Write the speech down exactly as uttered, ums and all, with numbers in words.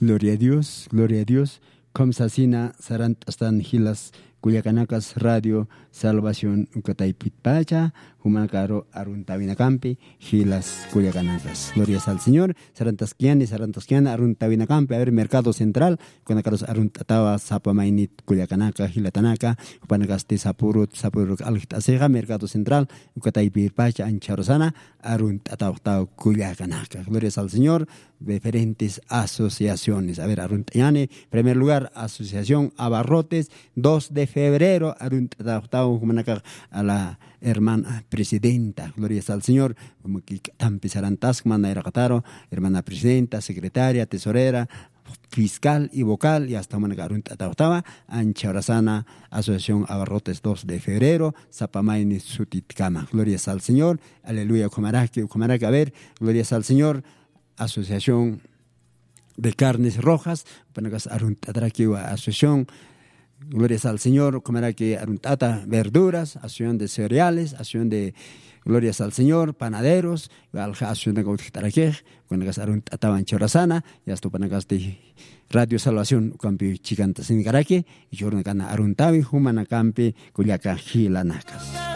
Gloria a Dios, gloria a Dios. Kham sasina sarant'astan jilas kullakanakas radio salvación ukataypitpacha, jumanakaru aruntawinakampi jilas kullakanakas. Gloria al Señor. Sarantaskiani sarantaskiani aruntawinakampi, a ver, mercado central, ukanakarus arunt'atawa sapa maynit kullakanaka jilatanaka, jupanakasti sapurut sapuruk aljt'asixa mercado central ukataypirpacha anchharusana arunt'atawxtaw kullakanaka. Gloria al Señor. Diferentes asociaciones, a ver, arunt'añani. Primer lugar, asociación abarrotes, dos de febrero arunt'atawxtaw jumanakax a la hermana presidenta. Gloria al Señor. Como que tampi sarantaskman nayraqataru, hermana presidenta, secretaria, tesorera, fiscal y vocal, y hasta jumanaka arunt'atawxtawa anchharusana asociación abarrotes dos de febrero sapa mayni sutitkama. Gloria al Señor. Aleluya. Ukhamaraki ukhamaraki, a ver, gloria al Señor. Asociación de carnes rojas, panakas arunt'atrakiwa asociación. Gloria al Señor. Ukhamaraki arunt'ata verduras, asociación de cereales, asociación de, gloria al Señor, panaderos, alja asociación de gautjtarakej. Ukanakas arunt'atawan chorasana, y hasta panakasti radio salvación ukampi chikanta sinikaraki, y chornakana aruntawi jumanakampi kullaka jilanakas.